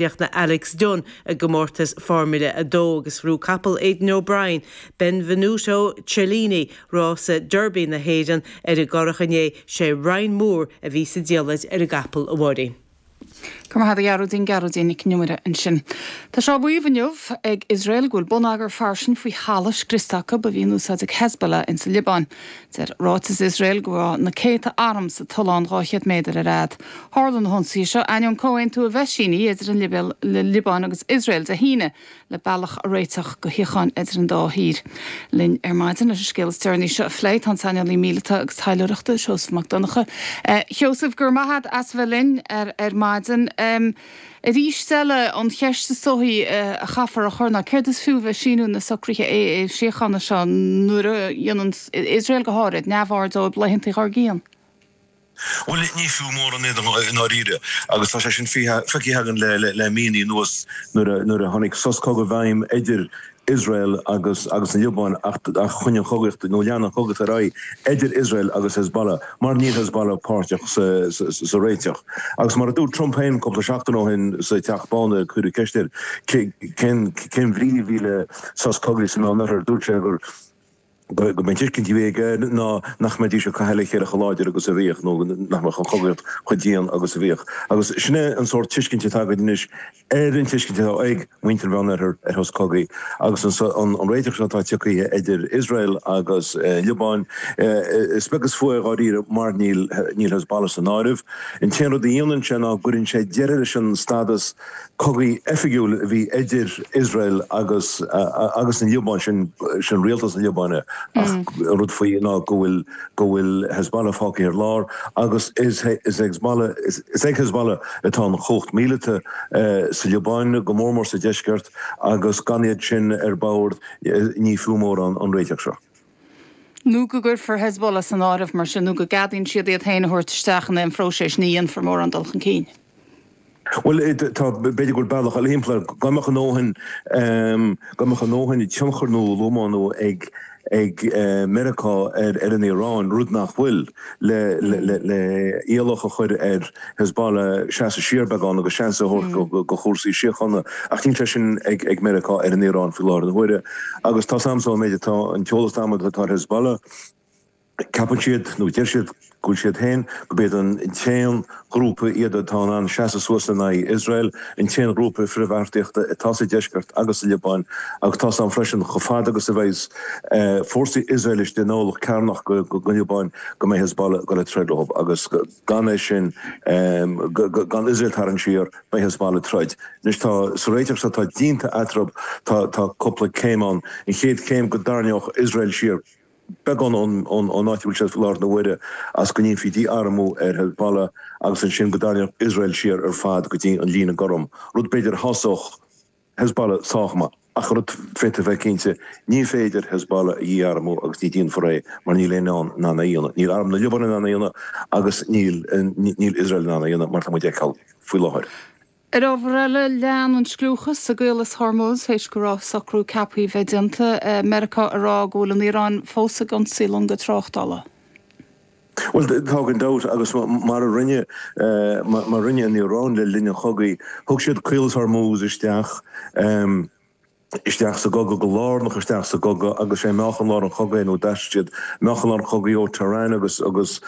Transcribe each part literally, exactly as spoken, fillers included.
Chríochnaigh Alex Dunne i gcomórtas Formula a dó agus bhuaigh capall Aidan O'Brien, Benvenuto Cellini, rása Derby na hÉireann ar an gCurrach inné sé Ryan Moore a bhí sa diallait ar an gcapall a Mháirín. Go raibh maith agat a Ghearóidín Gearóidín Nic an Iomaire ansin. Tá sé á mhaíomh inniu ag Iosrael go bhfuil bonneagar fairsing faoi thalamh scriosta acu a bhí in úsáid ag Hezbollah in sa Liobáin. Deir ráiteas Iosrael go raibh na céadta arm sa tollán dhá chéad méadar ar fhad. Tharla na hionsaithe seo ainneoin comhaontú a bheith sínithe idir an Liobáin agus Iosrael Dé hAoine le bealach a réiteach go shíocháin idir an dá thír. Linn ar maidin leis an scéal is deireanaí seo a phlé tá an saineolaí míleata agus taidhleoireachta Seosamh Mac Donncha. Sheosamh go raibh maith agat as bheith linn ar ar maidin. Um, Arís eile an cheist is dóichí a chaithfear a chur ná céard is fiú bheith síniú na socruithe é síochána seo nuair a dhéanann Iosrael go háirid neamhaird dóibh laethanta dár gcionn. Bhuel ní fiú mórán i ndáiríre agus tá sé sin feicthe againn le le míonna anuas nuair nuair a tháinig sos cogaidh i bhfeidhm idir Israel agus agus an Liobáin ach ach choinnigh an chogaíocht nó lean an chogaíocht ar aghaidh idir Israel agus Hezbollah mar níl Hezbollah páirteach sa, sa, sa réiteach. Agus mar a dúirt Trump féin cúpla seachtain ó shin sa Teach Bán cuireadh ceist air cén cén bhrí a bhí le sos cogaidh sa Meánoirthear dúirt sé gur go mbeidh tuiscint aige ná nach mbeidís ag caitheamh le chéile chomh láidir agus a bhíodh nó nach mbeadh an chogaíocht chomh dian agus a bhíodh. Agus sin é an sórt tuiscint atá againn anois ar an tuiscint atá ag muintir an Mheánoirthir ar shos cogaidh agus an an réiteach seo atá tagtha idir Israel agus Liobáin is beag is fiú é dháiríre mar níl níl Hezbollah san áireamh. An t-aon rud a dhéanann sé ná cuireann sé deireadh leis an stádas cogaidh oifigiúil a bhí idir Israel agus agus an Liobáin sin sin rialtas na Liobáine ach rud faoi ná go bhfuil go bhfuil Hezbollah fágtha ar lár agus is is Hezbollah is is ag Hezbollah atá an chumhacht míleata sa Liobáin go mór mór sa deisceart agus gan iad sin ar bord ní fiú mórán an réiteach seo. Nó go gcuirfear Hezbollah san áireamh mar sin nó go gceadaíonn siad iad féin a thabhairt isteach in aon phróiseas ní dhéanfar mórán dul chun cinn. Well tá b'fhéidir go bealach eile thimpeall go mbeadh a ndóthain go mbeadh a ndóthain tionchar nó lómánú ag ag Meiriceá ar ar an Iaráin rud nach bhfuil le le le iallach a chur ar Hezbollah seasamh siar beagán agus seans a thabhairt go go chúrsaí síochána ach níl sé sin ag ag Meiriceá ar an Iaráin faoi láthair na huaire agus tá Samson méid atá an t-eolas atá ar Hezbollah ceapann siad nó deir siad go bhfuil siad féin go b'iad an t-aon ghrúpa iad atá an seasamh suas in aghaidh Israel an t-aon ghrúpa frithbheartaíochta atá sa deisceart agus sa Liobáin agus tá an freisin chomh fada agus a bheidh fórsaí Israel istigh in orlach cearnach go go Liobáin go mbeidh Hezbollah go le troid leo agus gan é sin gan Israel tarraingt siar beidh Hezbollah troid. Anois tá sa réiteach seo tá déanta eatarthu tá tá cúpla céim ann an chéad chéim go dtarraingeodh Israel siar beagán ón áit bhfuil sé láthair na huaire as go ndéanfaí dí-armú ar Hezbollah agus ansin go dtarraingeodh Israel siar ar fad go dtí an líne gorm. Rud b'fhéidir a shásódh Hezbollah sách maith ach rud féidir bheith cinnte ní féidir Hezbollah a dhí-armú agus ní dhéanfar é mar níl aon in ann é a dhéanamh. Níl arm na Liobáine in ann é a dhéanamh agus níl níl Israel in ann é a dhéanamh mar tá muid ag feiceáil faoi láthair. Ar ábhar eile lean an scliúchas sa gCaolas Hormuz théis go raibh socrú ceaptha bheith déanta Meiriceá ag rá go bhfuil an Iaráin fós ag ionsaí longa tráchtála. Well tá gan dabht agus mar a rinne mar rinne an Iaráin le linn an chogaidh, thug siad Caolas Hormuz isteach isteach sa gcogadh go lárnach isteach sa gcogadh agus sé meáchan lár an chogaidh nó d'aistrigh siad meáchan lár an chogaidh ó Tehran agus agus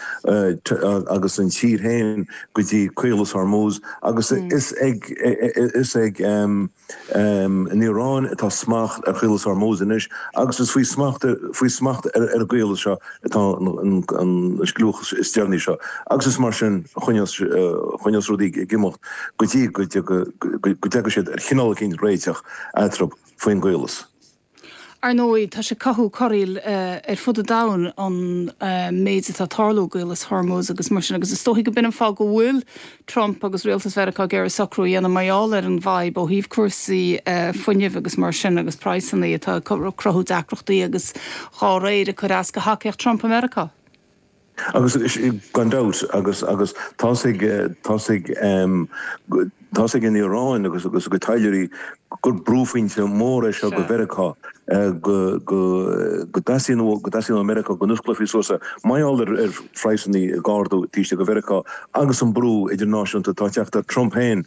agus an tír féin go dtí Caolas Hormuz agus is ag is ag um, um, an Iaráin atá smacht ar Chaolas Hormuz anois agus is faoi smacht faoi smacht ar ar an gcaolas seo atá an an scliúchas is deireanaí seo agus is mar sin choinneos choinneos rudaí ag imeacht go dtí go go go dtiocfaidh siad ar chineál éicint réiteach eatarthu faoin gcaolas. Ar ndóigh tá sé cothú corraíl ar fud an domhain an méid atá tarlú i gCaolas Hormuz agus mar sin agus is dóichí go b'in an fáth go bhfuil Trump agus rialtas Mheiriceá ag iarraidh socrú a dhéanamh mar gheall ar an bhfadhb ó thaobh cúrsaí fuinnimh agus mar sin agus praghsanna atá cruthú deacrachtaí agus dhá réir ag cur as go thacaíocht Trump i Meiriceá. Agus gan dabht agus agus tá ag tá ag tá ag an Iaráin agus agus go taidhleoirí gur brúphointe mór é seo go Mheiriceá go go dteastaíonn go dteastaíonn ó Meiriceá go n-osclófaí suas mar gheall ar ar phraghsanna ag ardú taobh istigh de Mheiriceá agus an brú idirnáisiúnta atá ag teacht ar Trump féin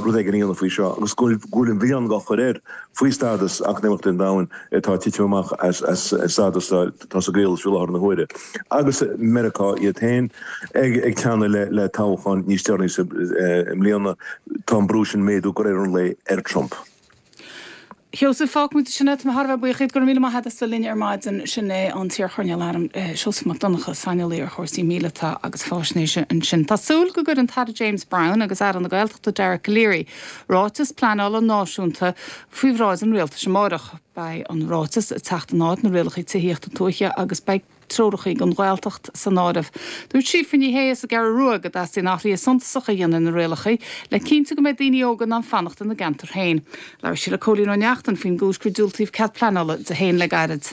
rud éigin a dhéanamh faoi seo agus go bhfuil an mhilleán á chur air faoi stádas eacnamaíochta an domhain atá ag titim amach as as stádas atá sa gcaol faoi láthair na huaire. Agus Meiriceá iad féin ag ag teannadh le le toghchán níos deireanaí sa i mbliana tá an brú sin ag méadú de réir an lae ar Trump. Sheosaimh, fágfaidh muid sin é, tá mé thar a bheith buíoch díot, go raibh míle maith agat as bheith linn ar maidin. Sin é an t-iarchoirnéal airm Seosamh Mac Donncha, saineolaí ar chúrsaí míleata agus faisnéise ansin. Tá súil go gcuirfidh an tAire James Browne agus Aire na Gaeltachta Dara Calleary ráiteas pleanála náisiúnta faoi bhráid an rialtais amárach. Beidh an ráiteas ag teacht in áit na rialacha tithíochta tuaithe agus beidh treoracha don Ghaeltacht san áireamh. Dúirt Síofra Ní Shé as an gCeathrú Rua go dteastaíonn athruithe suntasacha a dhéanamh na rialacha le cinntiú go mbeidh daoine óga in ann fanacht ina gceantar féin. Labhair sí le Cóilín Ó Neachtain faoin gcúis gur diúltaíodh cead pleanála di féin le gairid.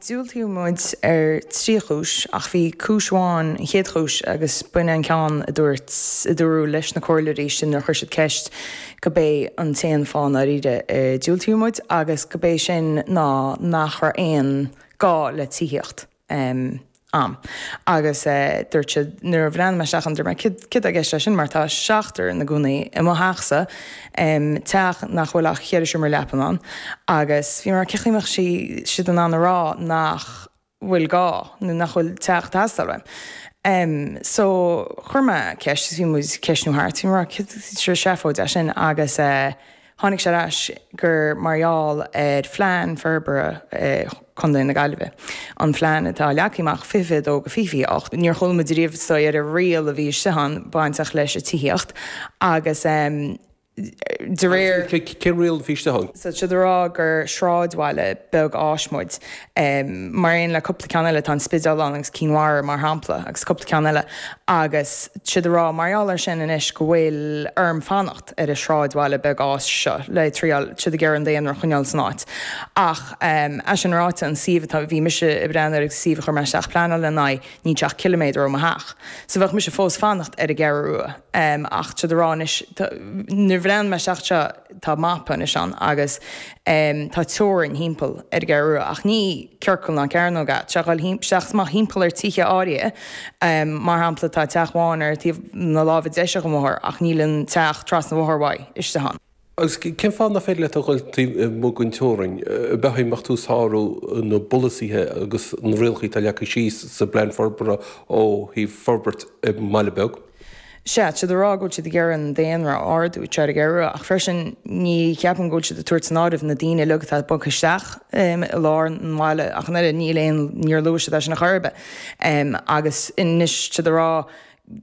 Diúltaíodh muid ar trí chúis ach bhí cúis amháin an chéad chúis agus b'in an ceann a dúirt a dúradh leis na comhairleoirí sin nuair a chuir siad ceist go bé an t-aon fáth ndáiríre a diúltaíodh muid agus go bé sin ná nach raibh aon gá le tithíocht. Um, am. Agus uh, dúirt siad nuair a bhreathnaigh mé isteach ann dúirt mé céard céard atá i gceist leis sin mar tá seachtar ina gcónaí i mo theachsa um, teach nach bhfuil ach ceithre seomra leapan ann agus bhí mar cén chaoi a mbeadh sí siad in ann a rá nach bhfuil gá nó nach bhfuil teach ag teastáil uaim. Um, so chuir mé ceist bhí muid ceistniú thart bhí mar seafóid é sin agus uh, tháinig sé ar ais gur mar gheall ar phlean forbartha eh, Chontae na Gaillimhe. An phlean atá leagtha amach fiche dó go fiche ocht. Níor chuala muid riamh ar an riail a bhí ann bainteach leis an tithíocht agus um, de réir Cén riail a bhí ann? So siad ag rá gur sráidbhaile beag fáis muid um, mar aon le cúpla ceann eile tá an Spidéal ann agus Cinn Mhara mar shampla agus cúpla ceann eile agus siad ag rá mar gheall air sin anois go bhfuil orm fanacht ar an sráidbhaile beag fáis seo le triail siad ag iarraidh an daonra a choinneáil san áit. Ach um, é sin ráite an suíomh atá bhí mise ag breathnú ar suíomh a chuir mé isteach pleanáil lena aghaidh níl sé ach ciliméadar ó mo theach. So bheadh mise fós fanacht ar an gCeathrú Rua. Um, ach siad ag rá anois nuair bhreathnaigh mé isteach seo tá mapa anois ann agus um, tá teorainn thimpeall ar an gCeathrú Rua ach ní ciorcal ná cearnóg é sé dhul isteach amach thimpeall ar tithe áirithe um, mar shampla tá teach amháin ar taobh na láimhe deise den bhóthar ach níl an teach trasna an bhóthair uaidh istigh ann. Agus cén fáth nach féidir leat a dhul taobh amuigh den teorainn, bheadh mbeadh tú ag sárú na bpolasaithe agus na rialacha atá leagtha síos sa bplean forbartha ó thaobh forbairt i mbaile beag. Sea, siad ag rá go bhfuil siad ag iarraidh an daonra a ardú ar an gCeathrú Rua ach freisin ní cheapaim go bhfuil siad ag tabhairt san áireamh na daoine uilig atá bogtha isteach um, i lár an bhaile ach an oiread níl aon níor luaigh siad é sin a chor ar bith. Um, agus anois siad ag rá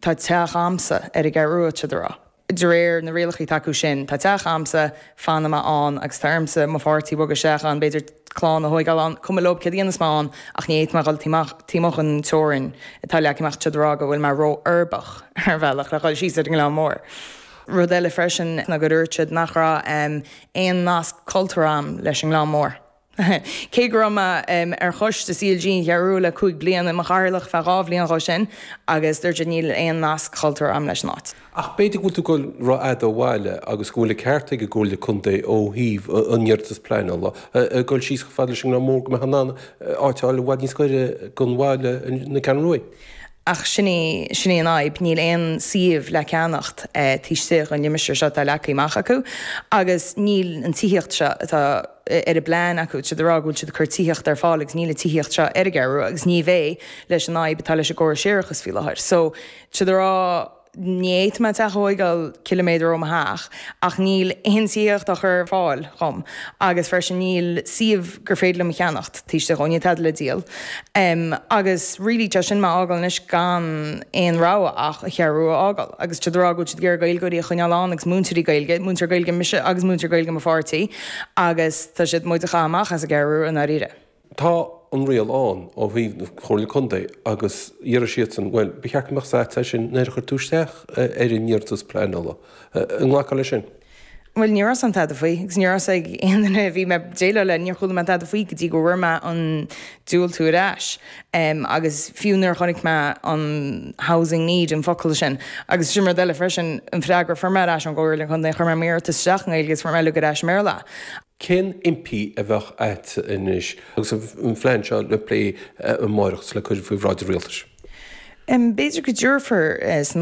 tá teach a'msa ar an gCeathrú Rua siad ag rá. De réir na rialacha atá acu sin, tá teach a'msa fanfaidh mé ann agus tá ormsa mo pháirtí bogadh isteach ann b'fhéidir clann a thógáil ann, cuma leo céard a dhéanfas mé ann ach ní fhéadfaidh mé dhul taobh amuigh den teorainn atá leagtha amach siad ag rá go bhfuil mé ró-uirbeach ar bhealach le dhul síos ar an nGleann Mór. Rud eile freisin ná gur dúirt siad nach raibh um, aon nasc cultúrtha a'm leis an nGleann Mór. Cé go raibh mé um, ar choiste CLG an Cheathrú le cúig bliana i mo chathaoirleach feadh dhá bhliain dhó sin agus dúirt siad níl aon nasc cultúrtha a'm leis an áit. Ach b'fhéidir go bhfuil tú ag dul rófhada ó bhaile agus go bhfuil an ceart ag an gComhairle Contae ó thaobh an iarratas pleanála ag dul síos chomh fada leis an nGleann Mór go mbeadh in ann áit a fháil i bhfad níos gaire don bhaile na Ceathrún Rua. Ach sin í sin í an fhadhb, níl aon suíomh le ceannacht eh, taobh istigh den limistéar seo atá leagtha amach acu agus níl an tithíocht seo atá ar a bplean acu siad ag rá go bhfuil siad ag cur tithíocht ar fáil agus níl an tithíocht seo ar an gCeathrú Rua agus ní bheidh leis an fhadhb atá leis an gcóras séarachais faoi láthair. So siad ag rá ní fhéadfaidh mé teach a thógáil ciliméadar ó mo theach ach níl aon tithíocht á chur ar fáil dhom agus freisin níl suíomh gur féidir liom a cheannacht taobh istigh dhó, níl tada le díol. Um, agus really tá sin mé a fhágáil anois gan aon rogha ach an Cheathrú Rua a fhágáil agus siad ag rá go bhfuil siad ag iarraidh Gaeilgeoirí a choinneáil ann agus múinteoirí Gaeilge, múinteoir Gaeilge mise agus múinteoir Gaeilge mo pháirtí agus tá siad muid a chaitheamh amach as an gCeathrú Rua i ndáiríre. Tá an riail ann ó thaobh na Comhairle Contae agus dheir siadsan, bhuel, ba cheart go mbeadh sé sin nuair a chuir tú isteach ar an iarratas pleanála. An nglacfá leis sin? Bhuel ní raibh an tada faoi, agus ní raibh ag aon duine a bhí mé déileáil le, níor chuala mé tada faoi go dtí go bhfuair mé an diúltú ar ais. Um, agus fiú nuair a chonaic mé an housing need an focal sin. Agus sin rud eile freisin an freagra fuair mé ar ais ón gComhairle Contae chuir mé m'iarratas isteach i nGaeilge agus fuair mé uilig ar ais i mBéarla. Cén impí a bheadh agat anois agus an phlean seo le plé amárach le cur faoi bhráid an rialtais? B'fhéidir go dtabharfar san